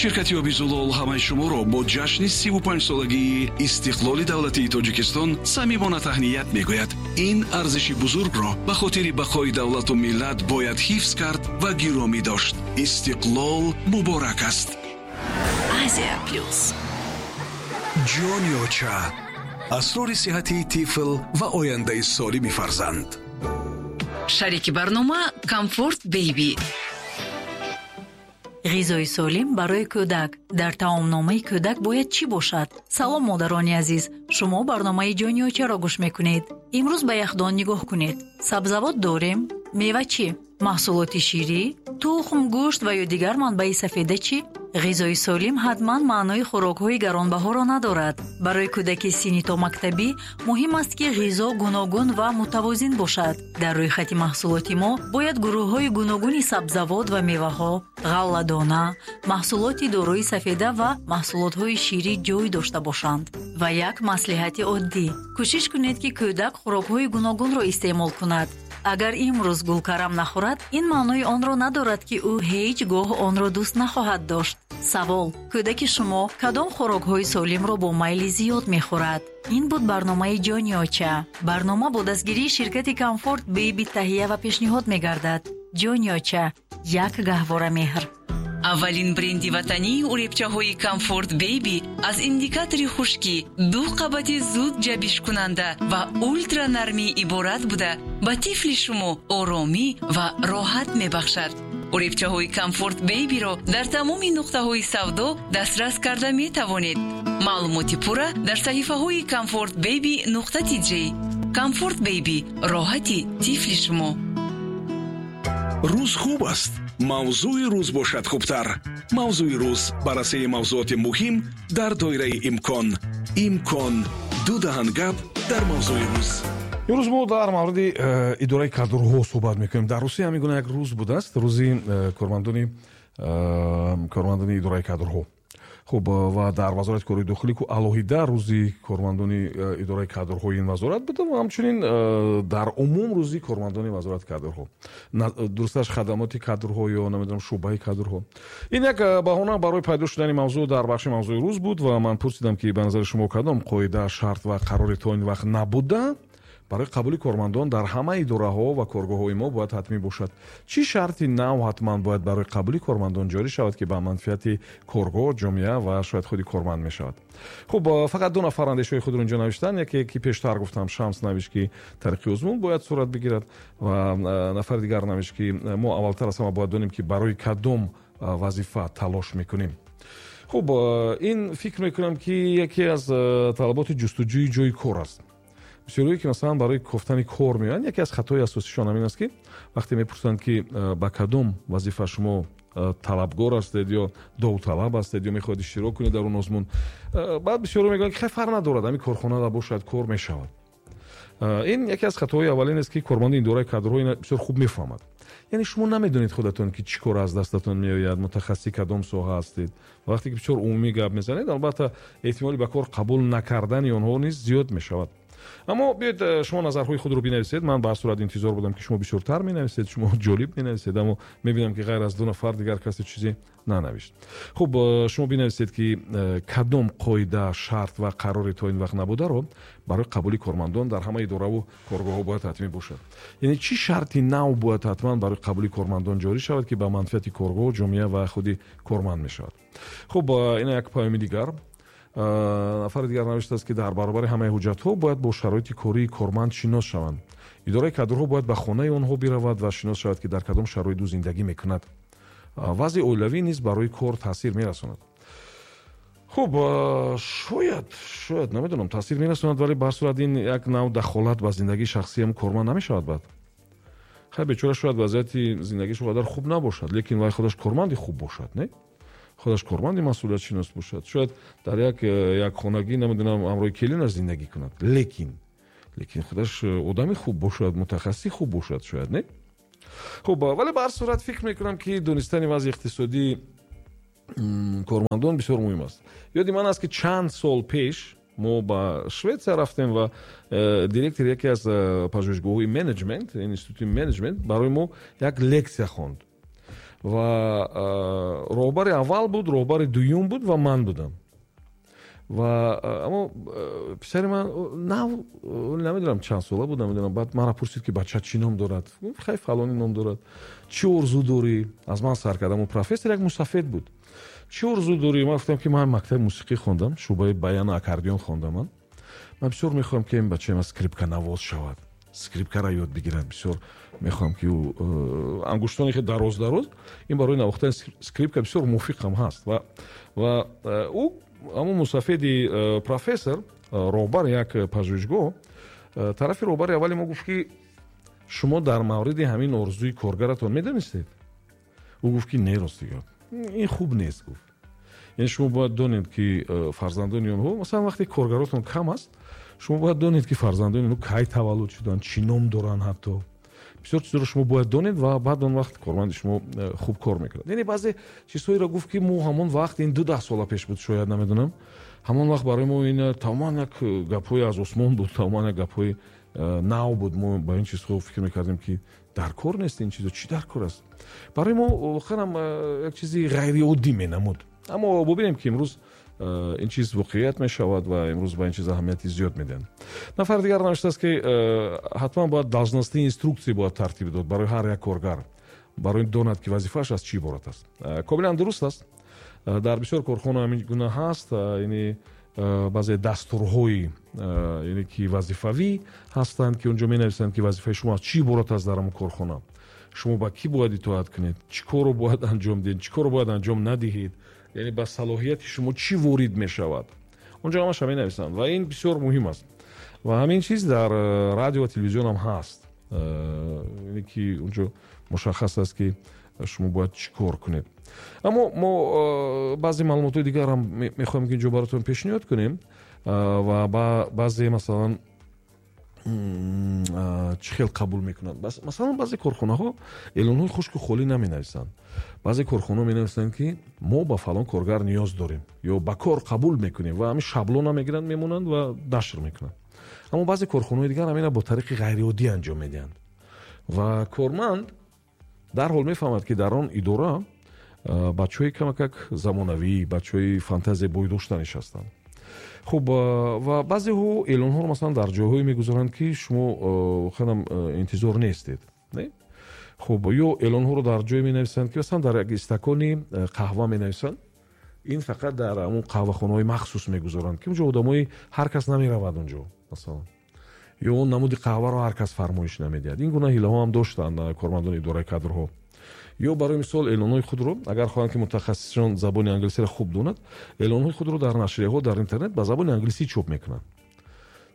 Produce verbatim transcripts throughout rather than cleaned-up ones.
Ширкати оби Зулол ҳамаи шуморо бо ҷашни сиву панҷсолагии истиқлоли давлатии Тоҷикистон самимона таҳният мегӯяд. Ин арзиши бузургро ба хотири бақои давлату миллат бояд ҳифз кард ва гиромӣ дошт. Истиқлол муборак аст. Азия Плюс. Ҷони оча, асрори сиҳатии тифл ва ояндаи солими фарзанд. Шарики барнома Комфорт Бейби. Ғизои солим барои кӯдак. Дар таомномаи кӯдак бояд чӣ бошад? Салом, модарони азиз, шумо барномаи Ҷони очаро гӯш мекунед. Имрӯз ба яхдон нигоҳ кунед. Сабзавот дорем, мева чӣ? Маҳсулоти ширӣ, тухм, гӯшт ва ё дигар манбаи сафеда чӣ? Ғизои солим ҳатман маънои хӯрокҳои гаронбаҳоро надорад. Барои кӯдаки синни томактабӣ муҳим аст, ки ғизо гуногун ва мутавозин бошад. Дар рӯйхати маҳсулоти мо бояд гурӯҳҳои гуногуни сабзавот ва меваҳо, ғалладона, маҳсулоти дорои сафеда ва маҳсулотҳои ширӣ ҷой дошта бошанд. Ва як маслиҳати оддӣ: кӯшиш кунед, ки кӯдак хӯрокҳои гуногунро истеъмол кунад. Агар имрӯз гулкарам нахӯрад, ин маънои онро надорад, ки ӯ ҳеҷ гоҳ онро дӯст нахоҳад дошт. Савол: кӯдаки шумо кадом хӯрокҳои солимро бо майли зиёд мехӯрад? Ин буд барномаи Ҷони оча. Барнома бо дастгирии ширкати Комфорт Бейби таҳия ва пешниҳод мегардад. Ҷони оча, як гаҳвора меҳр. Аввалин бренди ватании уребчаҳои Комфорт Бейби аз индикатори хушкӣ, ду қабати зуд ҷабишкунанда ва ултранармӣ иборат буда, ба тифли шумо оромӣ ва роҳат мебахшад. Уребчаҳои Комфорт Бейбиро дар тамоми нуқтаҳои савдо дастрас карда метавонед. Маълумоти пурра дар саҳифаҳои Комфорт Бейби нуқта тиҷ. Комфорт Бейби, роҳати тифли шумо. Рӯз хуб аст, мавзӯи рӯз бошад хубтар. Мавзӯи рӯз, баррасии мавзӯоти муҳим дар доираи имкон. Имкон ду даҳан гап дар мавзӯи рӯз. Имрӯз мо дар мавриди э, идораи кадрҳо суҳбат мекунем. Дар Русия ҳамин гуна як рӯз будааст, рӯзи э, кормандони э, кормандони идораи кадрҳо. Хуб, ва дар Вазорати корҳои дохилӣ ку алоҳида рӯзи кормандони идораи кадрҳои ин вазорат буда ва ҳамчунин дар умум рӯзи кормандони вазорати кадрҳо, дурусташ хадамоти кадрҳо ё намедонам шӯъбаи кадрҳо. Ин як баҳона барои пайдо шудани мавзӯъ дар бахши мавзӯи рӯз буд ва ман пурсидам, ки ба назари шумо кадом қоида, шарт ва қарори то ин вақт набуда барои қабули кормандон дар ҳама идораҳо ва коргоҳҳои мо бояд ҳатмӣ бошад? Чӣ шарти нав ҳатман бояд барои қабули кормандон ҷорӣ шавад, ки ба манфиати коргоҳ, ҷомеа ва шояд худи корманд мешавад? Хуб, фақат ду нафар андешаҳои худро инҷо навиштанд. Яке, ки пештар гуфтам, Шамс навишт, ки тариқи озмун бояд сурат бигирад, ва нафари дигар навишт, ки мо аввалтар аз ҳама бояд донем, ки барои кадом вазифа талош мекунем. Хуб, ин фикр мекунам, ки яке аз талаботи ҷустуҷӯи ҷои кор аст. Бисёрое, ки масалан барои кофтани кор меоянд, яке аз хатои асосишон ҳамин аст, ки вақте мепурсанд, ки ба кадом вазифа шумо талабгор ҳастед ё довталаб ҳастед ё мехоҳед иштирок кунед дар он озмун, баъд бисёро мегӯянд, ки хай, фарқ надорад, ҳамин корхонада бошад, кор мешавад. Ин яке аз хатоҳои аввалин аст, ки корманди идораи кадрҳо ина бисёр хуб мефаҳмад. Яъне шумо намедонед худатон, ки чӣ кор аз дастатон меояд, мутахассиси кадом соҳа ҳастед. Вақте ки бисёр умумӣ гап мезанед, албатта эҳтимоли ба кор қабул накардани онҳо низ зиёд мешавад. Аммо биёед, шумо назарҳои худро бинависед. Ман ба ҳар сурат интизор будам, ки шумо бисёртар менависед, шумо ҷолиб менависед, аммо мебинам, ки ғайр аз ду нафар дигар касе чизе нанавишт. Хуб, шумо бинависед, ки кадом қоида, шарт ва қарори то ин вақт набударо барои қабули кормандон дар ҳама идораву коргоҳҳо бояд ҳатмӣ бошад. Яъне чӣ шарти нав бояд ҳатман барои қабули кормандон ҷорӣ шавад, ки ба манфиати коргоҳ, ҷомеа ва худи корманд мешавад. Хуб, ина як паёми дигар. Нафари дигар навиштааст, ки дар баробари ҳамаи ҳуҷҷатҳо бояд бо шароити кории корманд шинос шаванд. Идораи кадрҳо бояд ба хонаи онҳо биравад ва шинос шавад, ки дар кадом шароит ӯ зиндагӣ мекунад. Вазъи оилавӣ низ барои кор таъсир мерасонад. Хуб, шояд шояд намедонам, таъсир мерасонад, вале ба ҳар сурат ин як нав дахолат ба зиндагии шахсиам корманд намешавад. Баъд хай, бечора шояд вазъияти зиндагиаш он қадар хуб набошад, лекин вай худаш корманди хуб бошад, не? Худаш корманди масъулиятшинос бошад, шояд дар як як хонагӣ, намедонам, ҳамроҳи келинаш зиндагӣ кунад, лекин лекин худаш одами хуб бошад, мутахассиси хуб бошад, шояд, не? Хуб, вале ба ҳар сурат фикр мекунам, ки донистани вазъи иқтисодии кормандон бисёр муҳим аст. Ёди ман аст, ки чанд сол пеш мо ба Шветсия рафтем ва директори яке аз пажӯҳишгоҳҳои менеҷмент, институти менеҷмент, барои мо як лексия хонд. Ва роҳбари аввал буд, роҳбари дуюм буд ва ман будам. Ва аммо писари ман нав, намедонам чанд сола буд, намедонам. Баъд маро пурсид, ки бача чӣ ном дорад. Хай, фалонӣ ном дорад. Чӣ орзу дорӣ? Аз ман сар кард. Аммо профессор як мусафед буд. Чӣ орзу дорӣ? Ман гуфтам, ки ман мактаби мусиқӣ хондам, шӯъбаи баяну аккордеон хондам. Ман ман бисёр мехоҳам, ки ин бачаи ман скрипканавоз шавад, скрипкаро ёд бигирад. Бисёр мехоҳам, ки ӯ ангуштони хеле дароз дароз, ин барои навохтани скрипка бисёр мувофиқ ҳам ҳаст. Ва ва ӯ, ҳамон мусафеди профессор, роҳбар як пажӯҳишгоҳ, тарафи роҳбари аввали мо гуфт, ки шумо дар мавриди ҳамин орзуи коргаратон медонистед? Ӯ гуфт, ки не, ростига ин хуб нест, гуфт. Яъне шумо бояд донед, ки фарзандони онҳо, масалан, вақте коргаротон кам аст, шумо бояд донед, ки фарзандони онҳо кай таваллуд шуданд, чӣ ном доранд, ҳатто бисёр чизро шумо бояд донед ва баъд он вақт корманди шумо хуб кор мекунад. Яъне баъзе чизҳоеро гуфт, ки мо ҳамон вақт, ин ду даҳ сола пеш буд шояд, намедонам, ҳамон вақт барои мо ин тамоман як гапҳои аз осмон буд, тамоман як гапҳои нав буд. Мо ба ин чизҳо фикр мекардем, ки дар кор нест ин чизо, чӣ дар кор аст? Барои мо воқеан ҳам як чизи ғайриоддӣ менамуд. Аммо бубинем, ки имрӯз ин чиз воқеият мешавад ва имрӯз ба ин чиз аҳамияти зиёд медиҳанд. Нафари дигар навиштааст, ки ҳатман бояд должностные инструкции бояд тартиб дод барои ҳар як коргар, барои донад, ки вазифааш аз чӣ иборат аст. Комилан дуруст аст. Дар бисёр корхона ҳамин гуна ҳаст, яъне баъзе дастурҳои, яъне ки вазифавӣ ҳастанд, ки онҷо менависанд, ки вазифаи шумо аз чӣ иборат аст дар ҳамон корхона, шумо ба кӣ бояд итоат кунед, чӣ корро бояд анҷом диҳед, чӣ корро бояд анҷом надиҳед, яъне ба салоҳияти шумо чӣ ворид мешавад, онҷо ҳамаша менависанд ва ин бисёр муҳим аст. Ва ҳамин чиз дар радио ва телевизион ҳам ҳаст, яъне ки онҷо мушаххас аст, ки шумо бояд чӣ кор кунед. Аммо мо баъзе маълумотҳои дигар ҳам мехоҳем, ки инҷо баротон пешниҳод кунем ва баъзе, масалан, чӣ хел қабул мекунанд. Масалан, баъзе корхонаҳо эълонҳои хушку холӣ наменависанд. Баъзе корхонаҳо менависанд, ки мо ба фалон коргар ниёз дорем ё ба кор қабул мекунем ва ҳамин шаблона мегиранд, мемонанд ва нашр мекунанд. Аммо баъзе корхонаҳои дигар ҳамина бо тариқи ғайриоддӣ анҷом медиҳанд ва корманд дарҳол мефаҳмад, ки дар он идора бачаҳои камакак замонавӣ, бачаҳои фантазия бой дошта нишастанд. Хуб, ва баъзеҳо эълонҳоро, масалан, дар ҷойҳое мегузоранд, ки шумо воқеан ҳам интизор нестед. Хуб, ё эълонҳоро дар ҷое менависанд, ки масалан дар як истакони қаҳва менависанд. Ин фақат дар ҳамон қаҳвахонаҳои махсус мегузоранд, ки онҷо одамои ҳар кас намеравад онҷо, масалан, ё он намуди қаҳваро ҳар кас фармоиш намедиҳад. Ин гуна ҳилаҳо ҳам доштанд кормандони идораи кадрҳо. Ё барои мисол эълонҳои худро, агар хоҳанд, ки мутахассисон забони англисиро хуб донад, эълонҳои худро дар нашрияҳо, дар интернет ба забони англисӣ чоп мекунанд.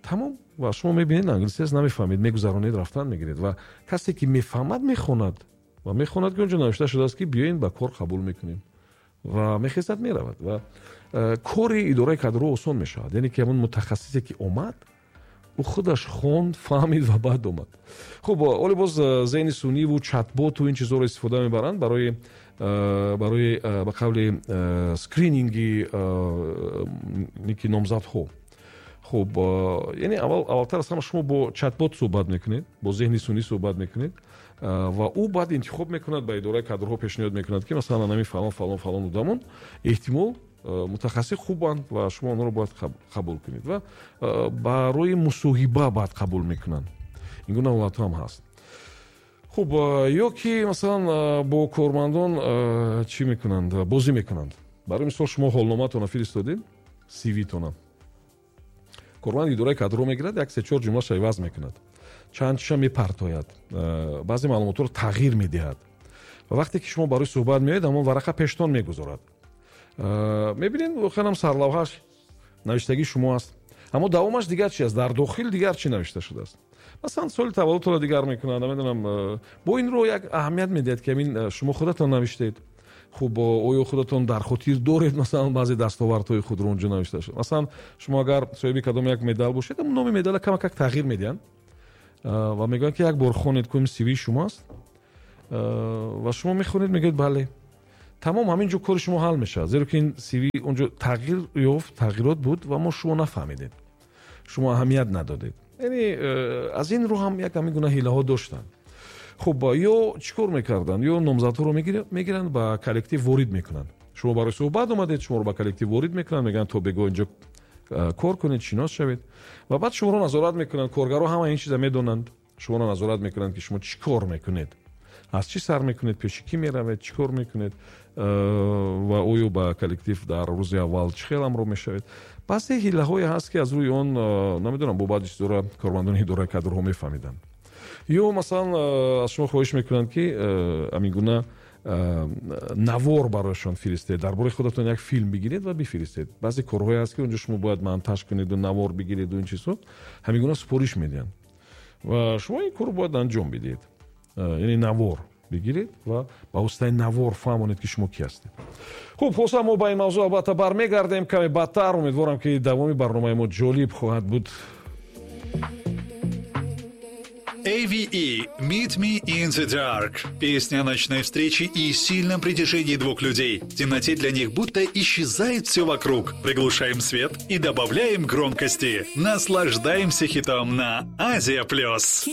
Тамом. Ва шумо мебинед, англисӣ аст, намефаҳмед, мегузаронед, рафтан мегиред ва касе ки мефаҳмад, мехонад ва мехонад, ки онҷо навишта шудааст, ки биёен, ба кор қабул мекунем, ва мехезад, меравад ва кори идораи кадрҳо осон мешавад. Яъне ки ҳамон мутахассисе, ки омад, ӯ худаш хонд, фаҳмид ва баъд омад. Хуб, оле боз зеҳни сунъиву чатботу ин чизҳоро истифода мебаранд барои барои ба қавли скрининги ки номзадҳо. Хуб, яъне аввал аввалтар аз ҳама шумо бо чатбот суҳбат мекунед, бо зеҳни сунъӣ суҳбат мекунед ва ӯ баъд интихоб мекунад, ба идораи кадрҳо пешниҳод мекунад, ки масалан ҳамин фалон, фалон, фалон одамон эҳтимол мутахассис хубанд ва шумо онҳоро бояд қабул кунед ва барои мусоҳиба баъд қабул мекунанд. Ин гуна ҳолатҳо ҳам ҳаст. Хуб, ё ки масалан бо кормандон чӣ мекунанд? Бозӣ мекунанд. Барои мисол, шумо ҳолномаатонро фиристодед, сивитона. Корманди идораи кадрро мегирад, як се чор ҷумлаша иваз мекунад, чанд чиша мепартояд, баъзе маълумотҳоро тағйир медиҳад ва вақте ки шумо барои суҳбат меоед, ҳамон варақа пештон мегузорад. Мебинед, воқеан ҳам сарлавҳаш навиштагии шумо аст, аммо давомаш дигар чи аст, дар дохил дигар чӣ навишта шудааст. Масалан, соли таваллудтонро дигар мекунанд, намедонам, бо инро як аҳамият медиҳад, ки ҳамин шумо худатон навиштед. Хуб, оё худатон дар хотир доред, масалан, баъзе дастовардҳои худро онҷо навишта шуд. Масалан, шумо агар соҳиби кадом як медал бошед, номи медала камакак тағйир медиҳанд ва мегӯянд, ки як бор хонед, кум сивии шумо аст, ва шумо мехонед, мегӯед бале. Тамом, ҳамин ҷо кори шумо ҳал мешавад, зеро ки ин сиви онҷо тағйир ёфт, тағйирот буд ва мо шумо нафаҳмидед, шумо аҳамият надодед. Яъне аз ин рӯ ҳам як ҳамин гуна ҳилаҳо доштанд. Хуб, ё чӣ кор мекарданд? Ё номзадҳоро мегиранд, ба коллектив ворид мекунанд. Шумо барои суҳбат омадед, шуморо ба коллектив ворид мекунанд, мегӯянд, то бегоҳ инҷо кор кунед, шинос шавед, ва баъд шуморо назорат мекунанд. Коргарҳо ҳама ин чиза медонанд, шуморо назорат мекунанд, ки шумо чӣ кор мекунед, аз чӣ сар мекунед, пеши кӣ меравед, чӣ кор мекунед ва оё ба коллектив дар рӯзи аввал чӣ хел ҳамроҳ мешавед. Баъзе ҳилаҳое ҳаст, ки аз рӯи он, намедонам, бо баъди чизора кормандони идораи кадрҳо мефаҳмиданд. Ё масалан аз шумо хоҳиш мекунанд, ки ҳамин гуна навор барояшон фиристед, дар бораи худатон як филм бигиред ва бифиристед. Баъзе корҳое ҳаст, ки онҷо шумо бояд монтаж кунеду навор бигиреду ин чизҳо, ҳамин гуна супориш медиҳанд ва шумо ин корро бояд анҷом бидиҳед, яъне навор бигиред ва ба воситаи навор фаҳмонед, ки шумо кӣ ҳастед. Хуб, хулоса, мо ба ин мавзӯъ албатта бармегардем каме баъдтар. Умедворам, ки давоми барномаи мо ҷолиб хоҳад буд. A V E «Meet Me in the Dark». Песня о ночной встрече и сильном притяжении двух людей. В темноте для них будто исчезает все вокруг. Приглушаем свет и добавляем громкости. Наслаждаемся хитом на Азия Плюс.